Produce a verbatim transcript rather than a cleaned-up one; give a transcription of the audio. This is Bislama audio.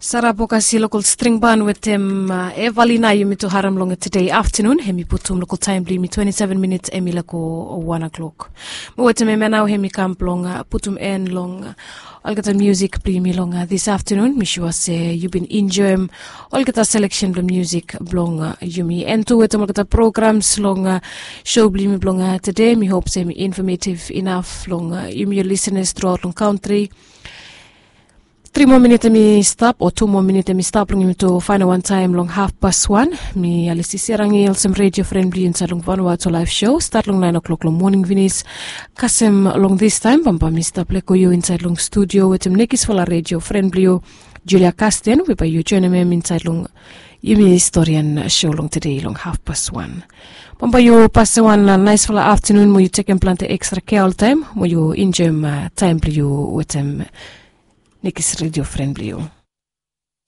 Sara Bokasi lokol string ban wetem Evalina yumi tu harim long tede aftanun. Hem i putum lokol taem blong yumi twenti seven minits, hem i lako wan o'clock. Mo wetem hem ya nao hem i kam blong putum en long olgeta musik blong yumi long dis aftanun. Mi sua se yu bin enjoem olgeta seleksen blong musik blong yumi, en tu wetem olgeta programs long sou blong yumi blong tede. Mi hop se hem i infamativ inaf long yumi yu lisenas truaot long kantri. Tri moa minit hem i stap o tu moa minit hem i stap long yumi tu faenem wan taem long hafpas wan. Mi Alisi Serangi olsem redio fren blong yu insaed long Vanuatu Laef Sou, stat long naen o'clock long moning finis. Kasem long distaem bambae mi stap leko yu insaed long studio wetem nekisfala redio fren blong yu, Julia Kasten, we bae yu joenem hem insaed long yumi storian sou long tede long hafpas wan. Bambae yu pasem wan naesfala aftanun mo yu tekem plante ekstra kea oltaem mo yu enjoem taem blong yu wetem nekis redio fren blong yu.